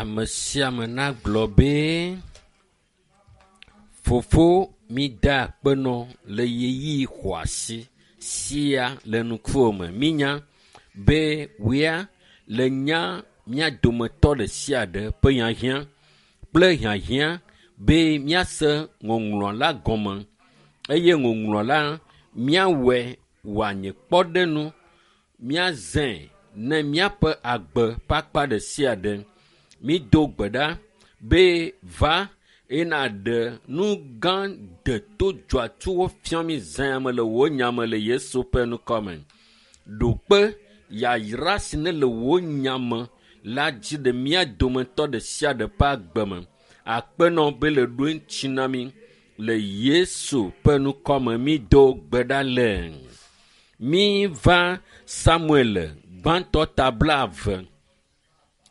Ame sia ame nagblɔ be, Fofo, mida akpe nɔ le ɣeyiɣi xɔasi sia le ŋkuwò me. Mínya be wòya le nya mía dometɔ ɖe sia ɖe ƒe hiahiã kple hiahiã be míase ŋɔŋlɔ la gɔme eye ŋɔŋlɔ la míawɔe wòanye kpɔɖeŋu, míazãe ne míaƒe agbe ƒe akpa ɖe sia ɖe. Mído gbe ɖa be va eye nàɖe nu gã deto dzɔatsuwo fia mí zã ya me le wò nya me le Yesu ƒe ŋkɔ me. Ɖo kpe yayra si ne le wò nya me la dzi ɖe mía dometɔ ɖe sia ɖe ƒe agbe me. Akpe nɔ be le ɖo eŋuti na mí le Yesu ƒe ŋkɔ me mído gbe ɖa le. Míva Samuel gbãtɔ ta blaeve.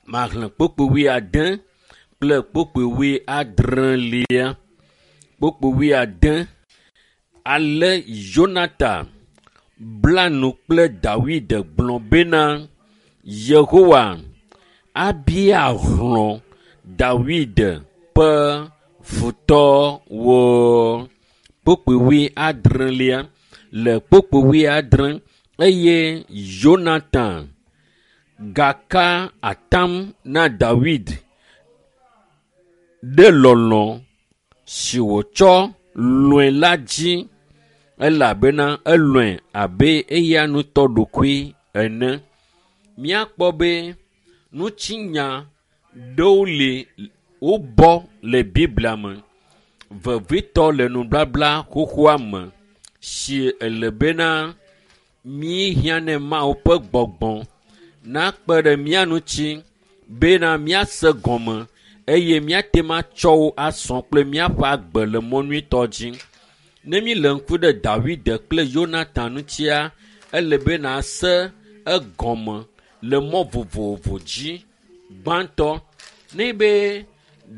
Maxlẽ kpukpui wuiade kple kpukpui wuiadrelia. Kpukpui wuiade. Ale Yonatan bla nu kple Dawid gblɔ bena, Yehowa abia hlɔ̃ Dawid ƒe futɔwo. Kpukpui wuiadrelia. Le kpukpui wuiadre eye Yonatan gaka atam na Dawid ɖe lɔlɔ̃ si wòtsɔ lɔ̃e la dzi elabena elɔ̃e abe eya ŋutɔ ɖokui ene. Míakpɔ be ŋutinya ɖewo li wobɔ le Biblia me, vevitɔ le nubabla xoxoa me si ele bena míehiã ne Mawu ƒe gbɔgbɔ nakpe ɖe mía ŋuti bena míase gɔme eye míate ŋu atsɔ wo asɔ kple míaƒe agbe le mɔ nyuitɔ dzi. Ne míle ŋku ɖe Dawid kple Yonatan ŋutia, ele be nàse egɔme le mɔ vovovo dzi. Gbãtɔ, ne be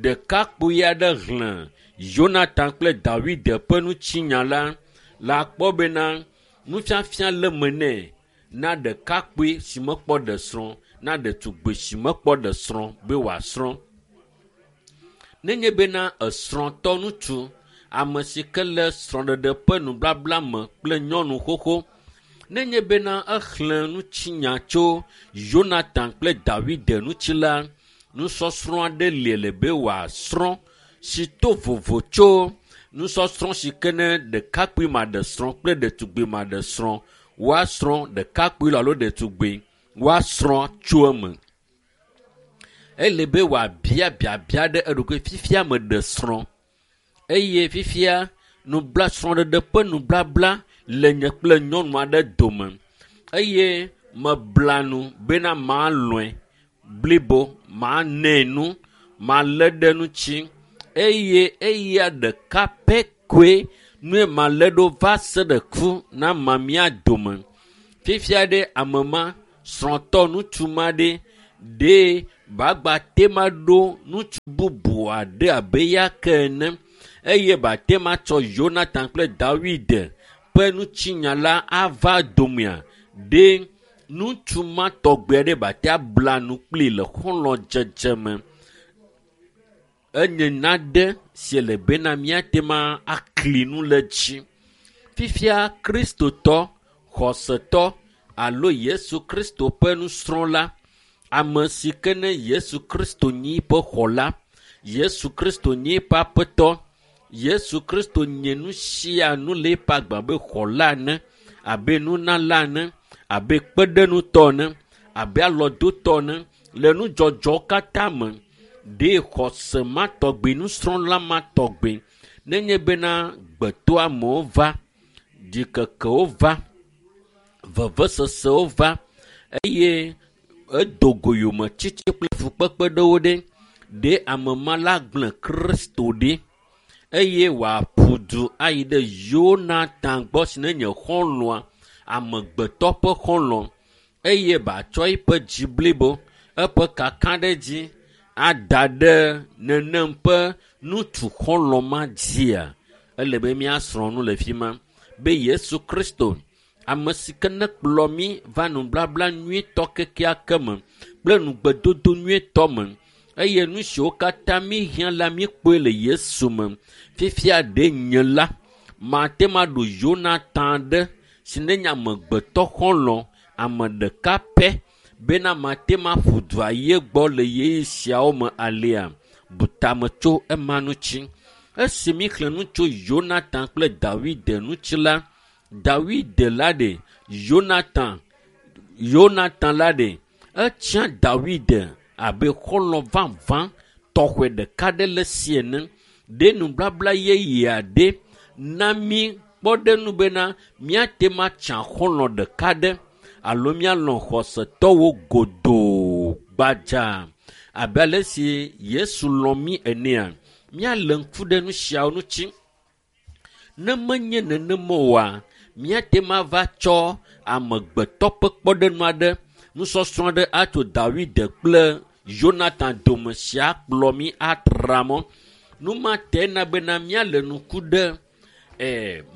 ɖekakpui aɖe xlẽ Yonatan kple Dawid ƒe ŋutinya la, la kpɔ bena nufiafia le me nɛ na ɖekakpui si mekpɔ ɖe srɔ̃, na ɖetugbi si mekpɔ ɖe srɔ̃ be wòasrɔ̃. Nenye bena esrɔ̃tɔ ŋutsu, ame si ke le srɔ̃ɖeɖe ƒe nubabla me kple nyɔnu xoxo, nenye bena exlẽ ŋutinya tso Yonatan kple Dawid ŋuti la, nusɔsrɔ̃ aɖe li le be wòasrɔ̃ si to vovo tso nusɔsrɔ̃ si ke ne ɖekakpui maɖe srɔ̃ kple ɖetugbi maɖe srɔ̃ woasrɔ̃ ɖekakpui alo ɖetugbi woasrɔ̃ tso eme. Ele be wòabia biabia ɖe eɖokui fifia meɖe srɔ̃ eye fifia nubla srɔ̃ɖeɖe ƒe nublabla le nye kple nyɔnu aɖe dome eye mebla nu bena malɔ̃e blibo, manɛ nu, malé ɖe ŋuti eye eya ɖeka pɛ koe nue malé ɖo va se ɖe ku na ma mía dome. Fifia ɖe ame ma, srɔ̃tɔ ŋutsu ma ɖe, ɖe bagba te ma ɖo ŋutsu bubu aɖe abe ya ke ene eye bate ma tsɔ Yonatan kple Dawid ƒe ŋutinya la ava domea ɖe ŋutsu ma tɔgbe aɖe bate abla nu kpli le xɔlɔ̃dzedze me. Enye nane si le bena míate ma akli nu le dzi. Fifia Kristotɔ, xɔsetɔ alo Yesu Kristo ƒe nusrɔ̃la, ame si ke ne Yesu Kristo nyi eƒe xɔla, Yesu Kristo nyi eƒe aƒetɔ, Yesu Kristo nye nu sia nu le eƒe agbe abe xɔla ene, abe nunala ene, abe kpeɖeŋutɔ ene, abe alɔdotɔ ene le nudzɔdzɔwo katã me. Ɖe xɔse ma tɔgbi, nusrɔ̃la ma tɔgbi nenye bena gbetoamewo va, ɖikekewo va, vevesesewo va eye edo go yometiti kple fukpekpe ɖewo ɖe, ɖe ame ma la gblẽ Kristo ɖi eye wòaƒu du ayi ɖe Yonatan gbɔ si ne nye xɔlɔ̃a, amegbetɔ ƒe xɔlɔ̃ eye batsɔ eƒe dzi blibo, eƒe kakaɖedzi ada ɖe nenem ƒe ŋutsu xɔlɔ̃ ma dzia. Ele be míasrɔ̃ nu le fi ma be Yesu Kristo, ame si ke ne kplɔ mí va nubabla nyuitɔ kekeake me kple nugbedodo nyuitɔ me. Eye nu siwo katã míhiã la míkpɔe le Yesu me. Fifia ɖe nye la, mate ma ɖo Yonatan ɖe si ne nye amegbetɔ xɔlɔ̃ ame ɖeka pɛ bena mate ma ƒu dua ye gbɔ le ɣeyiɣi siawo me alea. Bu tame tso ema ŋuti. Esi míxlẽ nu tso Yonatan kple Dawid ŋuti la, Dawid la ɖe Yonatan, Yonatan la ɖe etsia Dawid abe xɔlɔ̃ vavã tɔxɔe ɖeka ɖe le si ene. Ɖe nubabla yeye aɖe na mí kpɔɖeŋu bena míate ma tsa xɔlɔ̃ ɖeka ɖe alo míalɔ̃ xɔsetɔwo godoo gbadza abe ale si Yesu lɔ̃ mí enea. Míalé ŋku ɖe nu siawo ŋuti. Ne menye nenema oa, míate ma va tsɔ amegbetɔ ƒe kpɔɖeŋu aɖe, nusɔsrɔ̃ aɖe atso Dawid kple Yonatan dome sia kplɔ mí atra mɔ. Nu ma te na bena míalé ŋku ɖe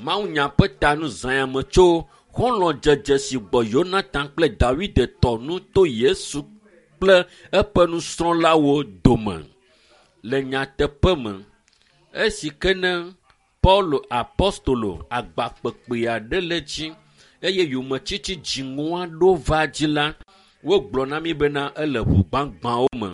mawunya ƒe ta nu zã me tso xɔlɔ̃dzedze si gbɔ Yonatan kple Dawid tɔ nu to Yesu kple eƒe nusrɔ̃lawo dome. Le nyateƒe me, esi ke ne Paulo apostolo agbakpekpe aɖe le dzi eye yometiti dziŋɔ aɖewo va dzi la, wogblɔ na mí bena ele ʋu gbagbãwo me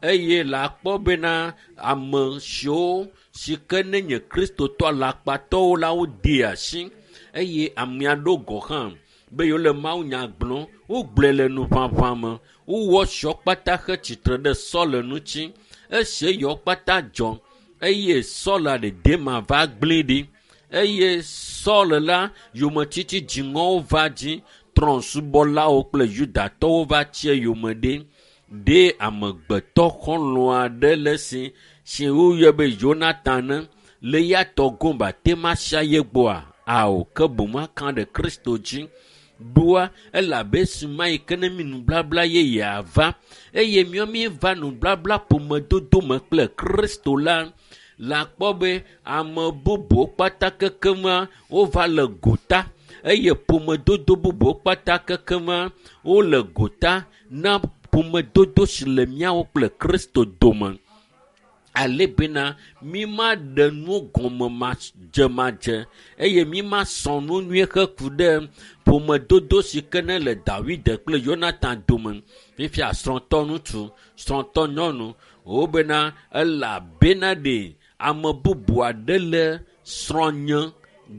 eye la kpɔ bena ame siwo si ke ne nye kristotɔ alakpatɔwo la wodee asi eye ame aɖewo gɔ̃ hã be yewo le mawunya gblɔm, wogblɔe le nuʋaʋã me, wowɔ siwo kpata he tsitre ɖe Saul ŋuti. Esi eyawo kpata dzɔ eye Saul ɖe Dema va gblẽ ɖi eye Saul la yometiti dziŋɔwo va dzi, trɔ̃subɔlawo kple Yudatɔwo va tsi eyome ɖi. Ɖe amegbetɔ xɔlɔ̃ aɖe le si si woyɔe be Yonatan ne le ya tɔ gomba tema sia ye gbɔa? Ao, ke boŋ aka ɖe Kristo dzi. Ɖoa elabe esi ma yi ke ne mi nubabla yeyea va eye míawo míeva nubabla ƒomedodo me kple Kristo la, la kpɔ be ame bubuwo kpata kekema wova le gota eye ƒomedodo bubuwo kpata kekema wole gota na ƒomedodo si le míawo kple Kristo dome. Ale bena mí ma ɖe nu gɔme madzemadze eye mí ma sɔ nu nyuie heku ɖe ƒomedodo si ke ne le Dawid kple Yonatan dome. Fifia srɔ̃tɔ ŋutsu, srɔ̃tɔ nyɔnu, wobena elabena ɖe ame bubu aɖe le srɔ̃nye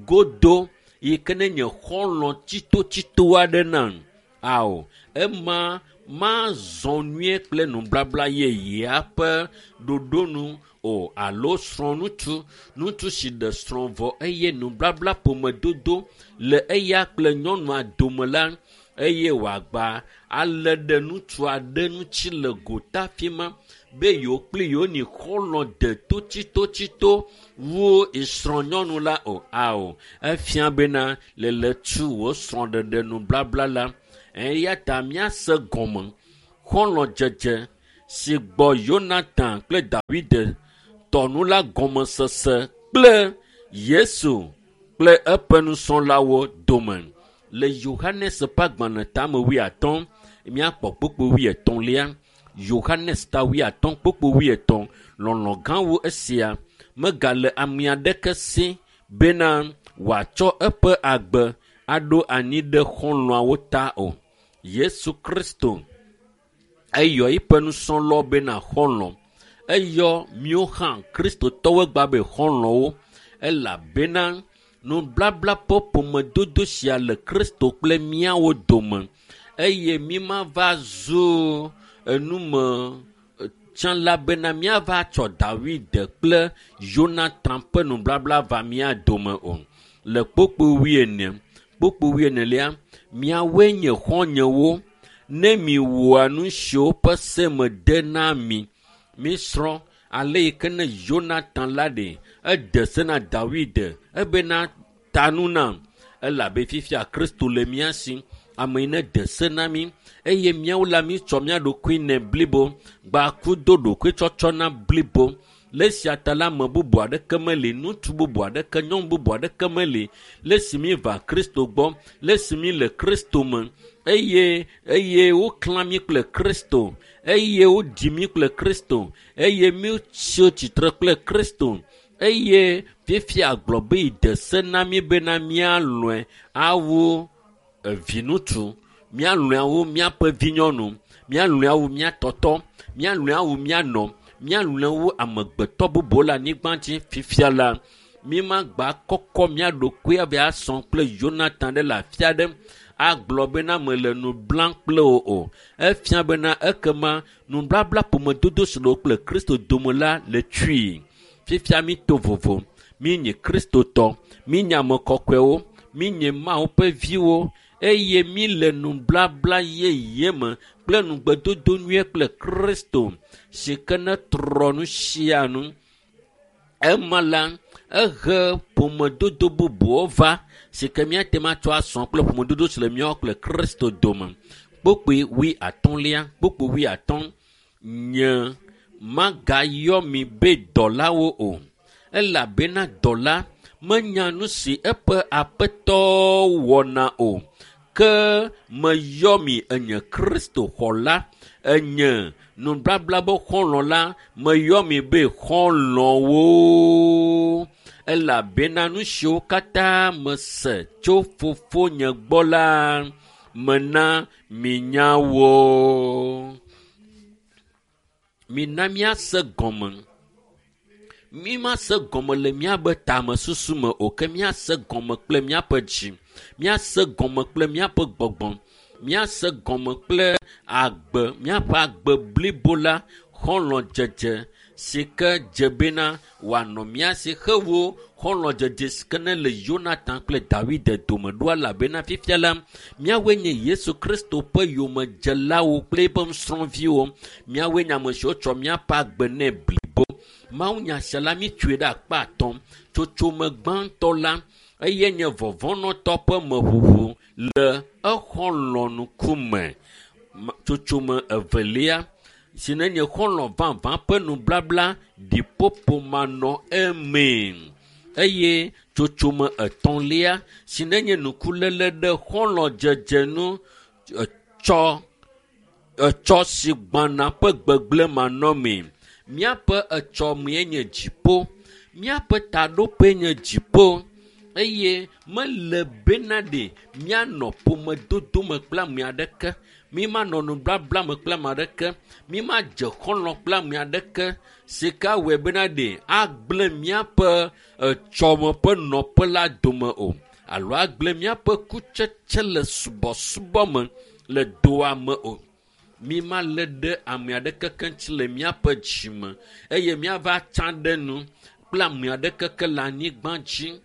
godo yi ke ne nye xɔlɔ̃ tsitotsito aɖe nam. Ao, ema mazɔ nyuie kple nubabla yeyea ƒe ɖoɖo nu o alo srɔ̃ ŋutsu, ŋutsu si ɖe srɔ̃ vɔ eye nubabla ƒomedodo le eya kple nyɔnua dome la eye wòagba alé ɖe ŋutsu aɖe ŋuti le gota fi ma be yewo kpli yewo nyi xɔlɔ̃ de totsitotsito wu srɔ̃nyɔnu la o. Ao, efia bena le le tu wò srɔ̃ɖeɖe nubabla la. Eya ta míase gɔme xɔlɔ̃dzedze si gbɔ Yonatan kple Dawid tɔ nu la gɔmesese kple Yesu kple eƒe nusrɔ̃lawo dome. Le Yohanes ƒe agbalẽ tame 50, míakpɔ kpukpui 83. Yohanes ta 50 kpukpui 83, lɔlɔ̃ gã wu esia megale ame aɖeke si bena wòatsɔ eƒe agbe aɖo anyi ɖe xɔlɔ̃awo ta o. Yesu Kristo eyɔ eƒe nusrɔ̃lawo bena xɔlɔ̃. Eyɔ míawo hã kristotɔwo gba be xɔlɔ̃wo elabena nublabla ƒe ƒomedodo sia le Kristo kple míawo dome eye mí ma va zu enume tsã la bena míava tsɔ Dawid kple Yonatan ƒe nublabla va mía dome o. Le kpukpui 40, kpukpui 44, miawoe nye xɔ̃nyewo ne miwɔa nu siwo ƒe se mede na mi. Mísrɔ̃ ale yi ke ne Yonatan la ɖe ede se na Dawid ebena ta nu nam elabe fifia Kristo le mía si. Ame yi ne de se na mí eye míawo la mítsɔ mía ɖokui nɛ blibo gbaku do ɖokuitsɔtsɔ na blibo. Le esia ta la ame bubu aɖeke meli, ŋutsu bubu aɖeke, nyɔnu bubu aɖeke meli le esi míva Kristo gbɔ, le esi mí le Kristo me eye woklã mí kple Kristo eye woɖi mí kple Kristo, eye míetsi tsitre kple Kristo, eye fifia gblɔ be yi de se na mí bena míalɔ̃e awu viŋutsu, míalɔ̃e awu míaƒe vinyɔnu, míalɔ̃e awu mía tɔtɔ, míalɔ̃e awu mía nɔ, míalɔ̃e awu amegbetɔ bubuwo le anyigba dzi. Fifia la, mímagba kɔkɔ mía ɖokui ava asɔ kple Yonatan ɖe le afi aɖe agblɔ bena mele nu blam kple wò o. Efia bena ekema nublabla ƒomedodo si le wò kple Kristo dome la le tsui. Fifia mi to vovo, mi nye Kristotɔ, mi nye ame kɔkɔewo, mi nye Mawu ƒe viwo, eye mi le nublabla yeye me kple nugbedodo nyuie kple Kristo si ke ne trɔ nu sia nu. Ema la, ehe ƒomedodo bubuwo va si ke míate ŋu atsɔ asɔ kple ƒomedodo si le míawo kple Kristo dome. Kpukpui 50, kpukpui 50, nye magayɔ mi be dɔlawo o, elabena dɔla menya nu si eƒe aƒetɔ wɔna o, ke meyɔ mi enye Kristo xɔla, enye nublabla be xɔlɔ̃ la, meyɔ mi be xɔlɔ̃wo, elabena nu siwo katã mese tso fofonye gbɔ la, mena minya wo. Mina míase gɔme. Mi mase gɔme le míaƒe tamesusu me o, ke míase gɔme kple míaƒe dzi, míase gɔme kple míaƒe gbɔgbɔ, míase gɔme kple agbe, míaƒe agbe blibo la, xɔlɔ̃dzedze si ke dze bena wòanɔ mía si hewo xɔlɔ̃dzedze si ke ne le Yonatan kple Dawid dome ɖo, elabena fifia la, míawoe nye Yesu Kristo ƒe yomedzelawo kple eƒe nusrɔ̃viwo. Míawoe nye ame siwo tsɔ míaƒe agbe nɛ blibo. Mawunya sia la, míetsoe ɖe akpa atɔ̃. Tsotsome gbãtɔ la, eye nye vɔvɔ̃nɔtɔ ƒe meʋuʋu le exɔlɔ̃ ŋkume. Tsotsome evelia, si ne nye xɔlɔ̃ vavã ƒe nublabla ɖiƒoƒo manɔ emee. Eye tsotsome etɔ̃lia, si ne nye nukuléle ɖe xɔlɔ̃dzedze nu etsɔ si gbãna ƒe gbegblẽ manɔmee. Míaƒe etsɔmee nye dziƒo, míaƒe taɖoƒee nye dziƒo, eye mele bena ɖe míanɔ ƒomedodo me kple ame aɖeke, mímanɔ nublabla me kple ame aɖeke, mímadze xɔlɔ̃ kple ame aɖeke si ke awɔe bena ɖe agblẽ míaƒe etsɔme ƒe nɔƒe la dome o, alo agblẽ míaƒe kutsetse le subɔsubɔ me le doa me o. Mímalé ɖe ame aɖeke ke ŋuti le míaƒe dzime eye míava tsa ɖe nu kple ame aɖeke ke le anyigba dzi.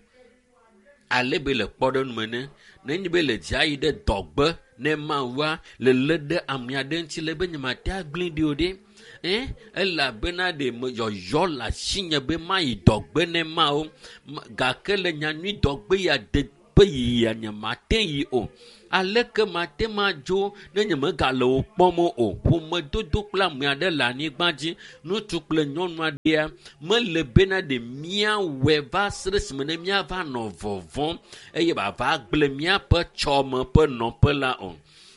Ale be le kpɔɖeŋu me ne, nenye be le dzia yi ɖe dɔgbe ne Mawua le lé ɖe ame aɖe ŋuti le be nyemate agblẽ ɖi o ɖe. Elabena ɖe me yɔyɔ le asinye be mayi dɔgbe ne Mawu, gake le nyanyui dɔgbe ya de ƒe yiyia nyemate yi o. Aleke mate madzo ne nyemegale wò kpɔm o? Ƒomedodo kple ame aɖe le anyigba dzi, ŋutsu kple nyɔnu aɖea, mele bena ɖe míawɔe va se ɖe esime ne míava nɔ vɔvɔ̃m eye wòava gblẽ míaƒe tsɔme ƒe nɔƒe la o.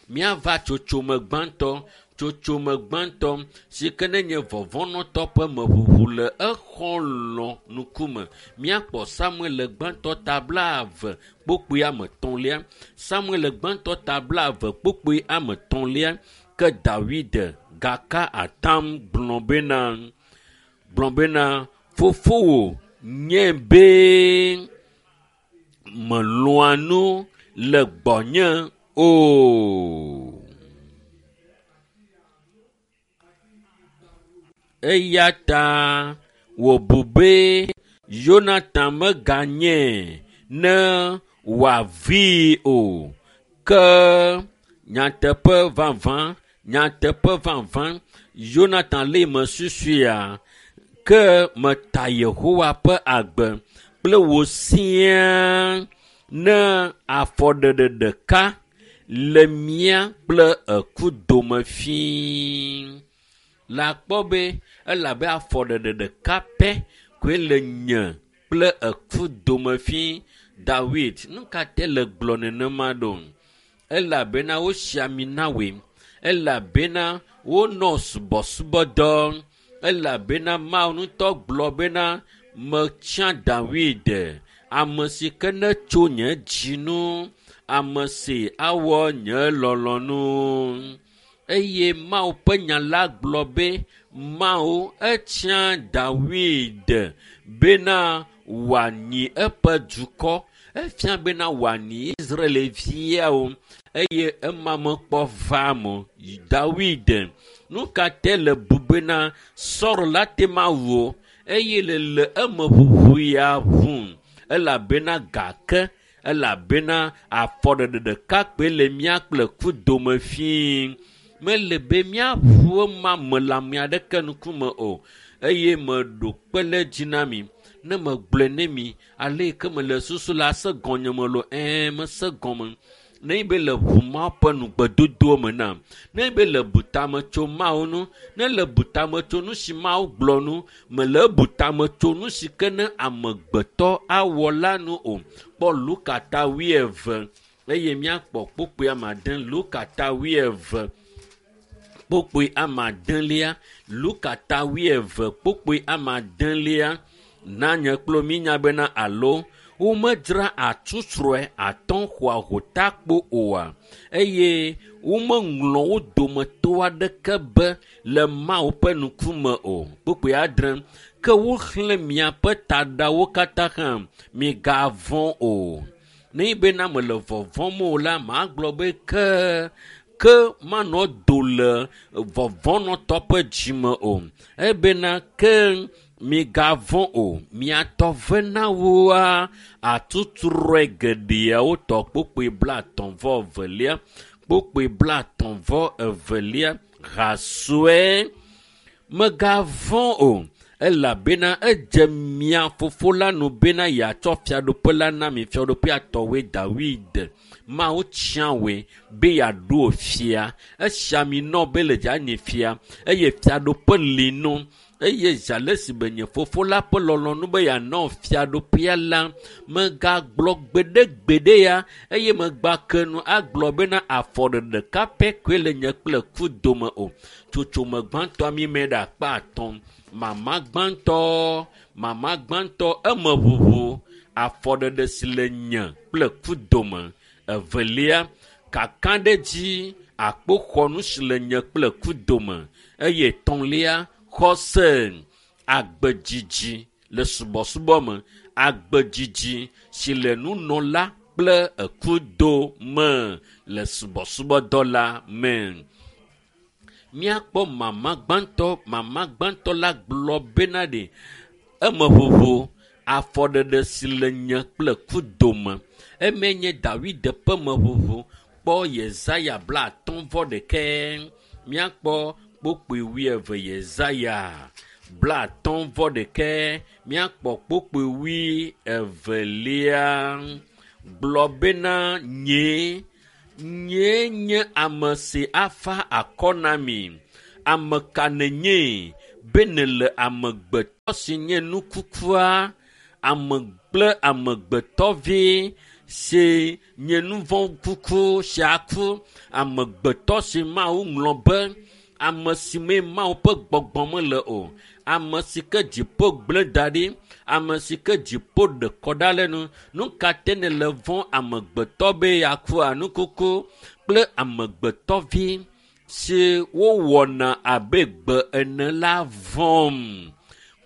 Míava tsotsome gbãtɔ, tsotsome gbãtɔ si ke ne nye vɔvɔ̃nɔtɔ ƒe meʋuʋu le exɔlɔ̃ ŋkume. Míakpɔ Samuel gbãtɔ ta 20 kpukpui ame etɔ̃lia. Samuel gbãtɔ ta 20 kpukpui ame etɔ̃lia. Ke Dawid gaka atam gblɔ bena, fofowò nye be melɔ̃a nu le gbɔnye o. Eya ta wòbu be Yonatan meganye ne wòavii o. Ke nyateƒe vavã, Yonatan lé me susuea, ke meta Yehowa ƒe agbe kple wò siaa ne afɔɖeɖe ɖeka le mía kple eku dome fĩi. La kpɔ be elabe afɔɖeɖe ɖeka pɛ koe le nye kple eku dome fĩi. Dawid, nu ka te le gblɔ nenema ɖo? Elabena wosi ami na wòe. Elabena wonɔ subɔsubɔdɔ. Elabena Mawu ŋutɔ gblɔ bena metsia Dawid, ame si ke netso nye dzinu, ame si awɔ nye lɔlɔ̃nu. Eye Mawu ƒe nya la gblɔ be Mawu etsia Dawid bena wòanyi eƒe dukɔ. Efia bena wòanyi Israelviawo eye ema mekpɔ va me o. Dawid, nu ka te le bu bena Saul la te ma wu o eye le le eme ʋuʋu ya ʋu elabena gake elabena afɔɖeɖe ɖeka kpoe le mía kple ku dome fii. Mele be míaʋu ema me le ame aɖeke ŋkume o eye meɖo kpe ɖe edzi na mi. Ne megblɔe ne mi ale yi ke mele susu la se gɔnye me lo ɛɛ mese gɔme. Ne be le ʋu Mawu ƒe nugbedodo me nam, ne be le bu tame tso Mawu ŋu, ne le bu tame tso nu si Mawu gblɔ nu, mele bu tame tso nu si ke ne amegbetɔ awɔ la nu o. Kpɔ Luka ta 20 eye míakpɔ kpukpui ame ade. Luka ta 20 kpukpui ame adelia. Luka ta 20 kpukpui ame adelia. Na nye kple mínya bena alo womedzra atsutsrɔe atɔ̃ xɔa hotakpo oa eye womeŋlɔ wo dometɔ aɖeke be le Mawu ƒe ŋkume o. Kpukpui adre. Ke woxlẽ miaƒe taɖawo katã hã, migavɔ̃ o. Ne bena mele vɔvɔ̃m o la, magblɔ be ke ke manɔ do le vɔvɔ̃nɔtɔ ƒe dzime o. Ebena ke migavɔ̃ o. Miatɔ ve na woa atutrɔe geɖeawo tɔ kpukpui 32. Kpukpui 32 ha sue. Megavɔ̃ o elabena edze mia fofo la nu bena yeatsɔ fiaɖuƒe la na mi. Fiaɖuƒea tɔwoe Dawid. Mawu tia woe be yeaɖo fia. Esia mi nɔ be le dzanyi fia eye fiaɖuƒe li nu. Eye zi ale si be nye fofo la ƒe lɔlɔ̃nu be yeanɔ fiaɖuƒea la, megagblɔ gbeɖegbeɖe ya eye megba ke nu agblɔ bena afɔɖeɖe ɖeka pɛ koe le nye kple ku dome o. Tsotsome gbãtɔa mi me ɖe akpa atɔ̃. Mama gbãtɔ eme ʋuʋu afɔɖeɖe si le nye kple ku dome. Evelia, kakaɖedzi akpoxɔnu si le nye kple ku dome. Eye etɔ̃lia, xɔse agbedzidzi le subɔsubɔ me, agbedzidzi si le nunɔla kple ekudo me le subɔsubɔdɔ la me. Míakpɔ mama gbãtɔ la gblɔ bena ɖe eme ʋuʋu afɔɖeɖe si le nye kple ku dome. Eme nye Dawid ƒe meʋuʋu. Kpɔ Yesaya 51. Míakpɔ kpukpui 20 Yesaya 51. Míakpɔ kpukpui 20. Gblɔ bena nyee nye ame si afa akɔ na mi. Ame ka nènye be nèle amegbetɔ si nye nu kukua, ame kple amegbetɔvi si nye nu vɔ̃ kuku si aku, amegbetɔ si Mawu ŋlɔ be, ame si me Mawu ƒe gbɔgbɔ mele o, ame si ke dziƒo gblẽ da ɖi, ame si ke dziƒo ɖe kɔ ɖa le nu. Nu ka te nèle vɔ̃ amegbetɔ be yeakua nukuku kple amegbetɔvi si wowɔna abe gbe ene la vɔ̃m.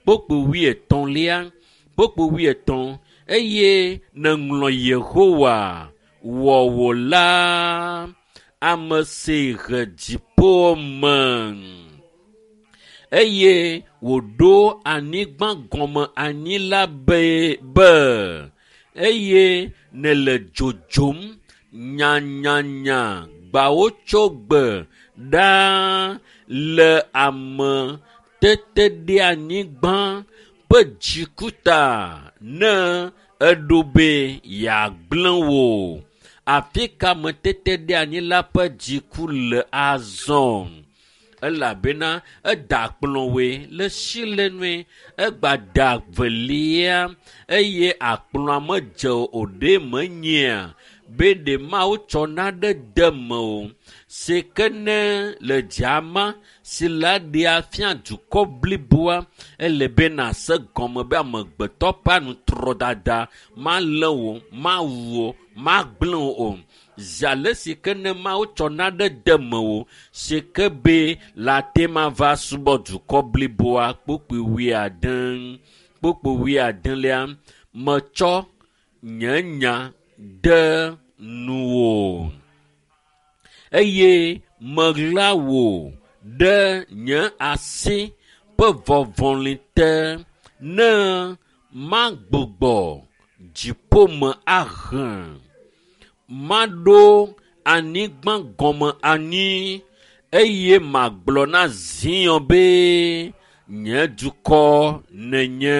Kpukpui 30. Kpukpui 30. Eye nèŋlɔ Yehowa wɔwòla, ame si he dziƒo me eye wòɖo anyigba gɔme anyi la be eye nèle dzodzom nyanyanya gbawo tso gbe ɖaa le ame teteɖeanyigba ƒe dzikuta ne eɖo be yeagblẽ wò. Afi ka ameteteɖeanyila ƒe dziku le azɔ? Elabena eda akplɔwoe le silenue, egba da velia eye akplɔa medze o ɖe menyea be ɖe Mawu tsɔ naɖe de me o. si ke ne le dzama si la ɖea fia dukɔ bliboa ele be nase gɔme be amegbetɔ ƒe anutrɔdada malé wò, mawu wò, magblẽ wò o. Zi ale si ke ne Mawu tsɔ naɖe de mewò si ke be la te ma va subɔ dukɔ bliboa kpukpui wuiade. Kpukpui wuiadelia metsɔ nye nya de nuwò eye meɣla wò ɖe nye asi ƒe vɔvɔli te ne magbugbɔ dziƒome ahe maɖo anyigba gɔme anyi eye magblɔ na Zion be nye dukɔ nenye.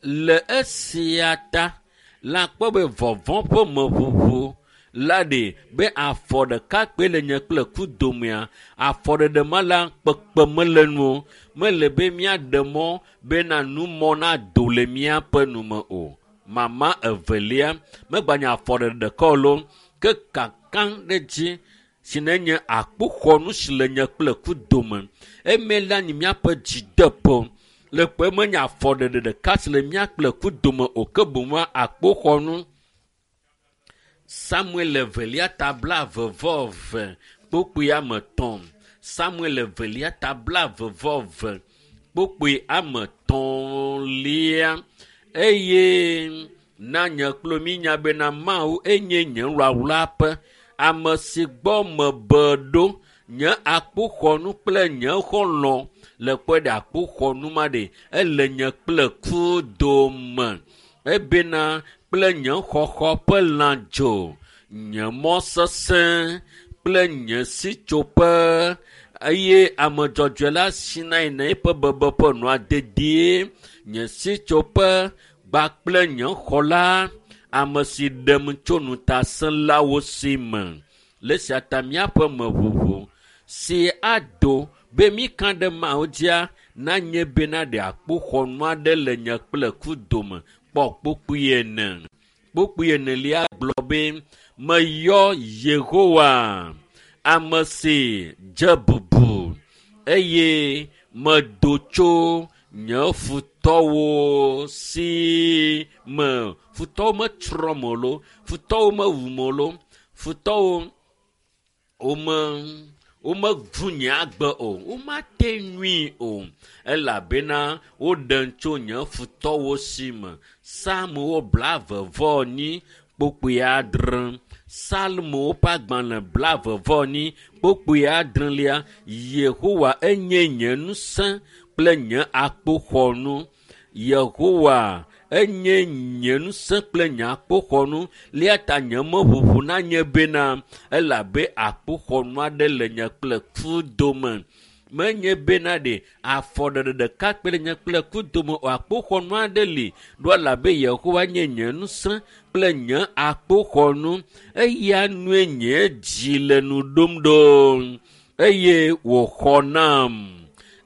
Le esia ta la kpɔ be vɔvɔ̃ ƒe meʋuʋu la ɖe be afɔ ɖeka kpe le nye kple ku domea afɔɖeɖe ma la kpekpe mele nu o. Mele be míaɖe mɔ bena numɔ nado le míaƒe nume o. Mama evelia megbanye afɔɖeɖe ɖeka o loo ke kaka ɖe dzi si ne nye akpoxɔnu si le nye kple ku dome. Eme la nyi míaƒe dzideƒo. Le kpe menye afɔɖeɖe ɖeka si le mía kple ku dome o ke boŋ akpoxɔnu. Samuel evelia ta blaeve vɔ eve kpukpui ame etɔ̃. Samuel evelia ta blaeve vɔ eve kpukpui ame etɔ̃lia eye na nye kple mi nya bena Mawu enye nye wlawlaƒe, ame si gbɔ mebe ɖo, nye akpoxɔnu kple nye xɔlɔ̃ le kpɔe ɖe akpoxɔnu ma ɖe ele nye kple ku dome ebena kple nye xɔxɔ ƒe lãdzo, nye mɔ sesẽ kple nye sitsoƒe eye ame dzɔdzɔe la sina yina eƒe bebeƒe nɔa dedie. Nye sitsoƒe kpakple nye xɔla, ame si ɖem tso ŋutasẽlawo si me. Le esia ta míaƒe meʋuʋu si ado be míka ɖe Mawu dzia nanye bena ɖe akpoxɔnu aɖe le nye kple ku dome kpɔ kpukpui ene. Kpukpui enelia gblɔ be meyɔ Yehowa, ame si dze bubu eye medo tso nye futɔwo si me. Futɔwo metsrɔ̃m o loo, futɔwo mewum o loo, futɔwo wome womevu nye agbe o, womate ŋui o elabena woɖem tso nye futɔwo si me. Psalmowo blaeve vɔ enyi kpukpui adre. Psalmowo ƒe agbalẽ blaeve vɔ enyi kpukpui adrelia. Yehowa enye nye ŋusẽ kple nye akpoxɔnu. Yehowa enye nye ŋusẽ kple nye akpoxɔnu. Eya ta nye meʋuʋu nanye bena elabe akpoxɔnu aɖe le nye kple ku dome. Menye bena ɖe afɔɖeɖe ɖeka kpe le nye kple ku dome o. Akpoxɔnu aɖe li ɖo elabe Yehowa nye nye ŋusẽ kple nye akpoxɔnu. Eya nue nye dzi le nu ɖom ɖo eye wòxɔ nam.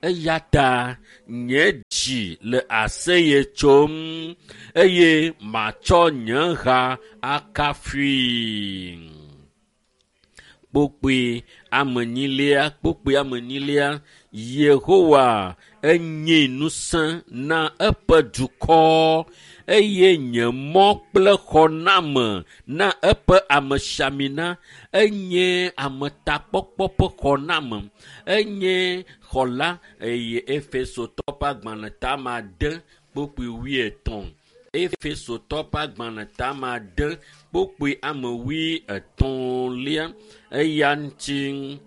Eya ta nye dzi le aseye tsom eye matsɔ nye ha akafui. Kpukpui ame enyilia, kpukpui ame enyilia, Yehowa enye ŋusẽ na eƒe dukɔ eye nye mɔ kple xɔname na eƒe amesiamina enye ametakpɔkpɔ ƒe xɔname enye xɔla eye Efesotɔ ƒe agbalẽ tame ade kpukpui wuietɔ̃. Efesotɔ ƒe agbalẽ tame ade kpukpui ame wuietɔ̃lia eya ŋuti.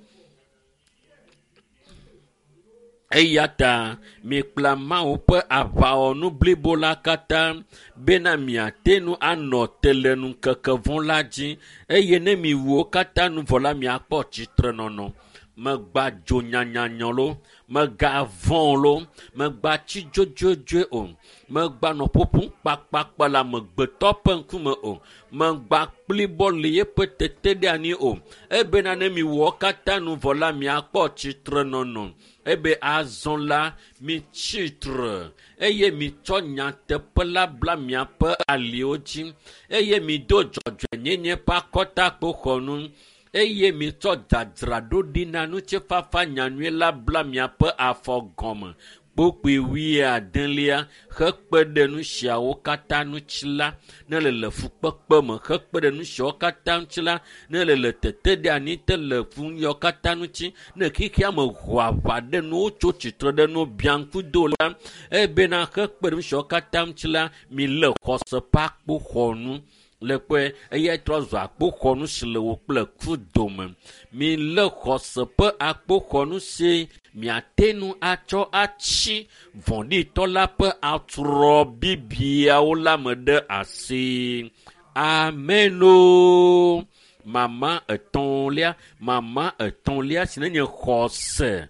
Eya ta mikpla Mawu ƒe aʋawɔnu blibo la katã bena miate ŋu anɔ te le ŋkeke vɔ̃ la dzi eye ne miwu wo katã nu vɔ la miakpɔ tsitrenɔnɔ. Megba dzo nyanyanya loo, megavɔ̃ loo, megba tsi dzodzodzoe o, megba nɔ ƒoƒom kpakpakpa le amegbetɔ ƒe ŋkume o, megba kplibɔ le yeƒe teteɖeanyi o. Ebena ne miwɔ wo katã nu vɔ la miakpɔ tsitrenɔnɔ. Ebe azɔ la mitsi tre eye mitsɔ nyateƒe la bla miaƒe aliwo dzi eye mido dzɔdzɔenyenye ƒe akɔtakpoxɔnu. Eye mitsɔ dzadzraɖo ɖi na ŋutifafa nyanyui la bla miaƒe afɔ gɔme. Kpokpoe wuiadelia hekpe ɖe nu siawo katã ŋuti la, ne le le fukpekpe me, hekpe ɖe nu siawo katã ŋuti la, ne le le teteɖeanyi te le fuyawo katã ŋuti, ne xexea me ho aʋa ɖe nuwo tso tsitre ɖe nu biã ŋku do la, ebena hekpe ɖe nu siawo katã ŋuti la, milé xɔse ƒe akpoxɔnu. Le kpɔe eya trɔ zu akpoxɔnu si le wò kple ku dome. Milé xɔse ƒe akpoxɔnu si miate ŋu atsɔ atsi vɔ̃ɖitɔ la ƒe atrɔ bibiawo la me ɖe asi. Ameno. Mama etɔ̃lia, mama etɔ̃lia si nenye xɔse,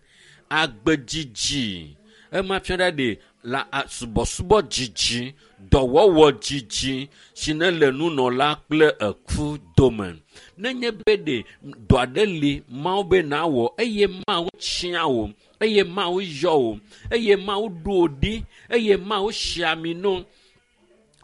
agbedzidzi. Ema fia ɖa ɖe la subɔsubɔ dzidzi, dɔwɔwɔ dzidzi si ne le nunɔla kple eku dome. Nenye be ɖe dɔ aɖe li Mawu be nawɔ eye Mawu tia wò, eye Mawu yɔ wò, eye Mawu ɖo wò ɖi, eye Mawu si ami no,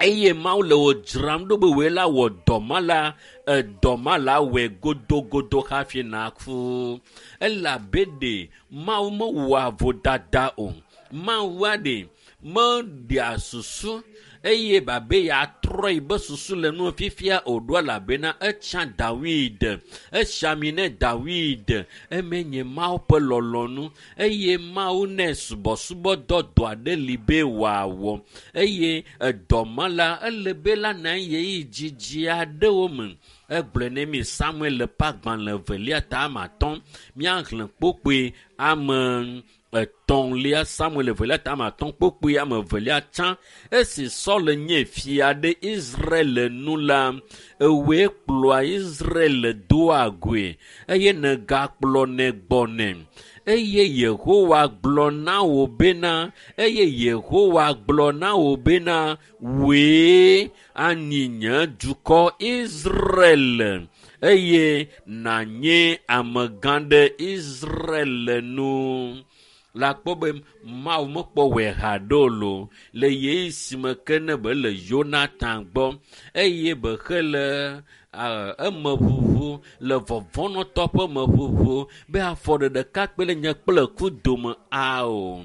eye Mawu le wò dzram ɖo be wòe la wɔ dɔ ma la, edɔ ma la wɔe godogodo hafi naku. Elabe ɖe Mawu mewɔa vodada o. Mawua ɖe meɖea susu eye babe yeatrɔ yi be susu le nu fifia o ɖo elabena etsa Dawid, esi ami ne Dawid, eme nye Mawu ƒe lɔlɔ̃nu eye Mawu nɛ subɔsubɔdɔ dɔ aɖe li be wòawɔ eye edɔ ma la ele be la na ɣeyiɣi dzidzi aɖewo me. Egblɔe ne mi Samuel ƒe agbalẽ evelia ta ame atɔ̃, míaxlẽ kpokpoe ame etɔ̃lia, Samuel evelia ta ame atɔ̃ kpokpoe ame evelia tsã. Esi Saul nye fia ɖe Israel nu la, ewòe kplɔa Israel doa goe eye negakplɔnɛ gbɔnɛ. Eye Yehowa gblɔ na wò bena, eye Yehowa gblɔ na wò bena, wòe anyi nye dukɔ Israel eye nànye amegã ɖe Israel nu. La kpɔ be Mawu mekpɔ wɔe haɖe o lo le ɣeyiɣi si me ke ne be le Yonatan gbɔ eye be xe le emeʋuʋu le vɔvɔ̃nɔtɔ ƒe meʋuʋu be afɔ ɖeka kpe le nye kple ku dome ao.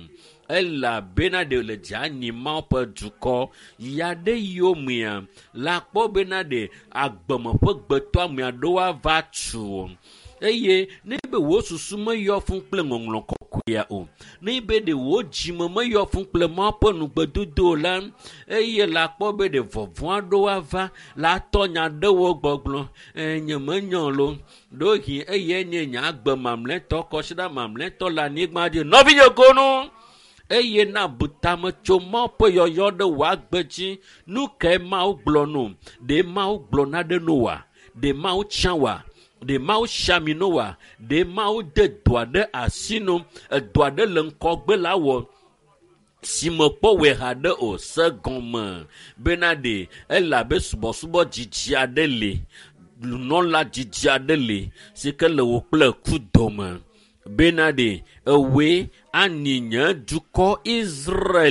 Elabena ɖe le dze anyi Mawu ƒe dukɔ ya ɖe yomea la kpɔ bena ɖe agbeme ƒe gbetɔame aɖewo ava tu o. Eye ne be wò susu meyɔ fũ kple ŋɔŋlɔ kɔkɔea o, ne be ɖe wò dzime meyɔ fũ kple Mawu ƒe nugbedodo o la, eye la kpɔ be ɖe vɔvɔ̃ aɖewo ava la tɔ nya ɖewo gbɔgblɔ. Nye menyɔ lo. Ɖewohĩ eye nye nye agbe mamlɛtɔ, kɔsiɖa mamlɛtɔ le anyigba dzi. Nɔvinye gonu! Eye na bu tame tso Mawu ƒe yɔyɔ ɖe wò agbe dzi. Nu kae Mawu gblɔ no? Ɖe Mawu gblɔ naɖe no wòa? Ɖe Mawu tia wòa? Ɖe Mawu si ami no wòa? Ɖe Mawu de dɔ aɖe asi no? Edɔ aɖe le ŋgɔgbe la wɔ si mekpɔ wɔe haɖe o. Se gɔme bena ɖe elabe subɔsubɔ dzidzi aɖe li, nunɔla dzidzi aɖe li si ke le wò kple ku dome. Bena ɖe ewòe anyi nye dukɔ Israel.